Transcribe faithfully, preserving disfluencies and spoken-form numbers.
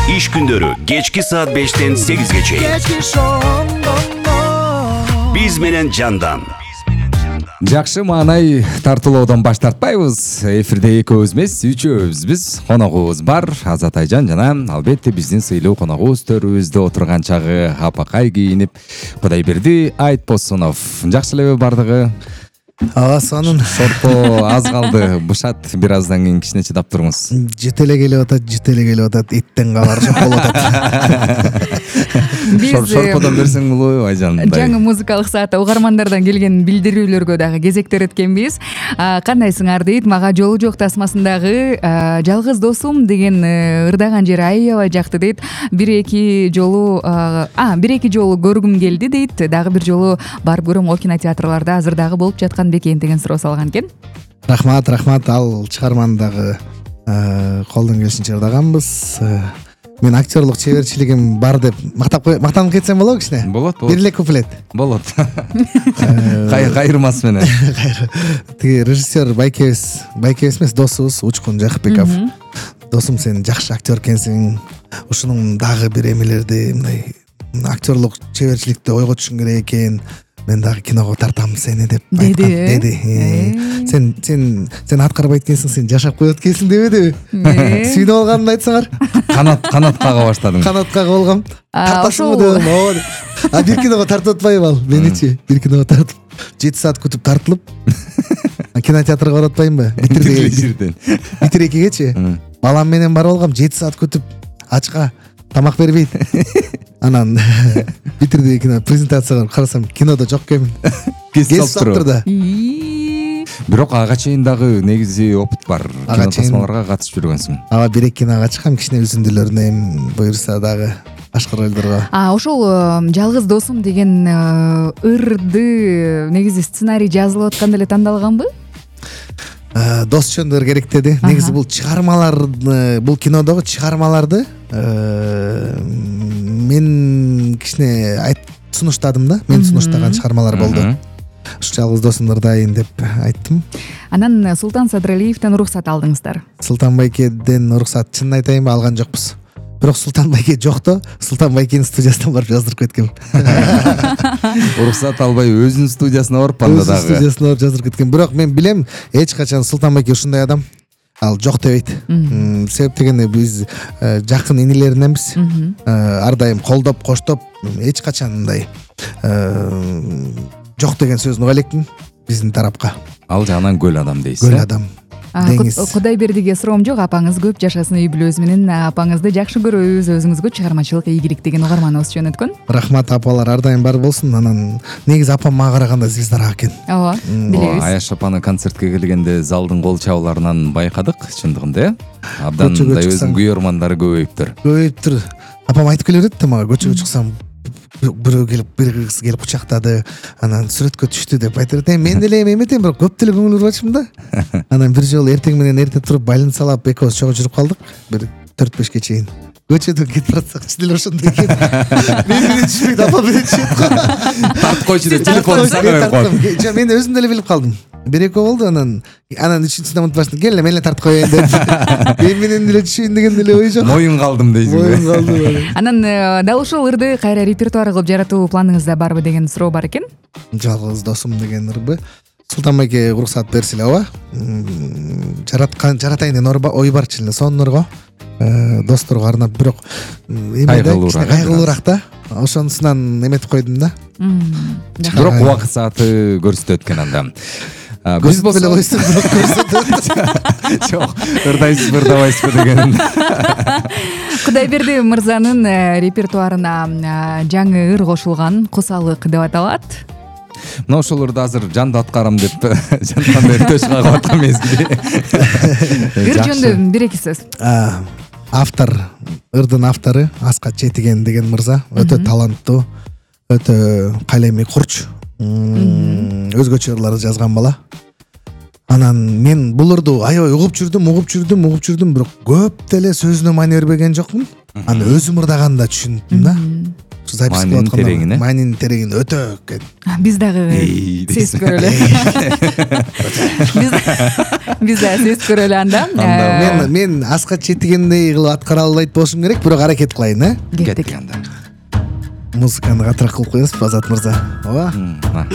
Иш күндөрү кечки саат бештен сегизге чейин. Биз менен жандан. Жакшы маанай тартуулоодон баш тартпайбыз. Эфирде экөөбүз эмес, үчөөбүзбүз. Коногубуз бар, Азат Айжан жана албетте биздин сыйлуу коногубуз төрүбүздө отурган чагы апакай кийинип, Кудайберди Айтбосунов. Жакшы элеби бардыгы? Ага, сонун. Шорпо аз калды. Бышат бир аздан кийин кичине чыдап туруңуз. Жете эле келип атат, жете эле келип атат. Иттен кабар жок болуп атат. Биз шорподон берсең болобу Айжан? Жаңы музыкалык саатта угармандардан келген билдирүүлөргө дагы кезектер эткенбиз. Кандайсыңар дейт, мага жолу жок тасмасындагы жалгыз досум деген ырдаган жери аябай жакты дейт. Бир эки жолу а бир эки жолу көргүм келди дейт. Дагы бир жолу барып көрөм, о кинотеатрларда азыр дагы болуп жаткан бекен деген суроо салган экен. Рахмат, рахмат. Ал чыгарманы дагы колдон келишинче ырдаганбыз. Мен актерлук чеберчилигим бар деп мактап мактанып кетсем болобу кичине? Болот, болот. Бир эле куплет. Болот. Кайырмас менен. Тиги режиссер байкебиз, байкебиз эмес, досубуз Учкун Жакыпбеков. Досум, сен жакшы актер экенсиң. Ушунун дагы бир эмелерди, мындай актерлук чеберчиликти ойго түшүң керек экен. Мен дагы киного тартам сени деп айткан деди. Сен сен сен аткарбайт экенсиң, сен жашап коет экенсиң дебедиби? Сүйүнүп алганымды айтсаңар. Канат канат кага баштадым. Канат кага болгом. Тартасыңбы дедим. Ооба. А бир киного тартып атпайбы ал? Меничи бир киного тартып жети саат күтүп тартылып. Кинотеатрга барып атпаймынбы? Битирден. Битир экигечи. Балам менен барып алгам, жети саат күтүп, ачка тамак бербейт. Анан битирди кино презентацияга карасам, кинодо жок экенмин. Кесип алыптыр да. Бирок ага чейин дагы негизи опыт бар. Кино тасмаларга катышып жүргөнсүң. Ага, бир эки кинога чыккам, кичине үзүндүлөрүнө эми буюрса дагы башка ролдорго. А ошол жалгыз досум деген ырды негизи сценарий жазылып атканда эле тандалганбы? Дос чөндөр керектеди. Негизи бул чыгармаларды, бул кинодогу чыгармаларды мен кичине айтып сунуштадым да. Мен сунуштаган чыгармалар болду. Ушу жалгыз досумду ырдайын деп айттым. Анан Султан Садыралиевден уруксат алдыңыздар. Султан байкеден уруксат, чынын айтайынбы, алган жокпуз. Бирок Султан байке жокто, Султан байкенин студиясынан барып жаздырып кеткем. Уруксат албай өзүнүн студиясына барып анда дагы. Өзүнүн студиясына барып жаздырып кеткем. Бирок мен билем, эч качан Султан байке ушундай адам. Ал жок дебейт. Себеп дегенде биз жакын инилериненбиз. Ар дайым колдоп, коштоп, эч качан мындай жок деген сөзүн уга элекмин биздин тарапка. Ал жагынан көл адам дейсиз. Көл адам. Кудайбердиге суроом жок, апаңыз көп жашасын, үй бүлөбүз менен апаңызды жакшы көрөбүз, өзүңүзгө чыгармачылык ийгилик деген угарманыбыз жөнөткөн. Рахмат, апалар ар дайым бар болсун. Анан негизи апам мага караганда звездараак экен. Ооба, билебиз. Аяш апаны концертке келгенде залдын кол чабууларынан байкадык, чындыгында э. Абдан мындай өзүнүн күйөрмандары көбөйүптүр. Көбөйүптүр. Апам айтып келе берет да мага, көчөгө чыксам бирөө келип, бир кыз келип кучактады, анан сүрөткө түштү деп айтып берет. Мен деле эметем, бирок көп деле көңүл бурбачымын да. Анан бир жолу эртең менен эрте туруп больницалап экөөбүз чогуу жүрүп калдык, бир төрт бешке чейин. Көчөдөн кетип баратсак, чын эле ошондой экен. Мен менен түшпөйт, апа менен түшөт го. Тартып койчу деп телефонду сага коюп. Жок, мен өзүм деле билип калдым. Бир экөө болду, анан анан үчүнчүсүнө унутуп баштым. Кел эле, мен эле тартып коеюн деп. Мен менен деле түшөйүн деген деле ой жок. Моюн калдым дейсиң. Моюн калдым. Анан дал ушул ырды кайра репертуар кылып жаратуу планыңызда барбы деген суроо бар экен. Жалгыз досум деген ырды Султан байке уруксат берсиле, ооба. Жараткан, жаратайын деген ой бар чын эле, соннорго. Досторго арнап, бирок кайгылуураак, кайгылуураак да. Ошонусунан эметип койдум да. Бирок убакыт сааты көрсөтөт экен анда. Биз беле койсун, бирок көрсөтөт. Жок, ырдайсызбы, ырдабайсызбы деген. Кудайберди мырзанын репертуарына жаңы ыр кошулган, Кусалык деп аталат. Мына ошол ырды азыр жанды аткарам деп жантан бери төш кагып аткан мезгили. Ыр жөнүндө бир эки сөз. Автор, ырдын автору Аскат Четиген деген мырза, өтө таланттуу, өтө калеми курч, өзгөчө ырларды жазган бала. Анан мен бул ырды аябай угуп жүрдүм, угуп жүрдүм, угуп жүрдүм, бирок көп деле сөзүнө маани бербеген жокмун. аны өзүм ырдаганда түшүндүм да. Запись Маанинин тереңине. Маанинин тереңине өтө экен. Биз дагы Эй, сезип көрөлү. Биз биз дагы сезип көрөлү анда. Мен мен аска четигендей кылып аткара албайт болушум керек, бирок аракет кылайын, э? Кеттик. анда. Музыканы катыраак кылып коебузбу, Азат мырза? Ооба. М, а.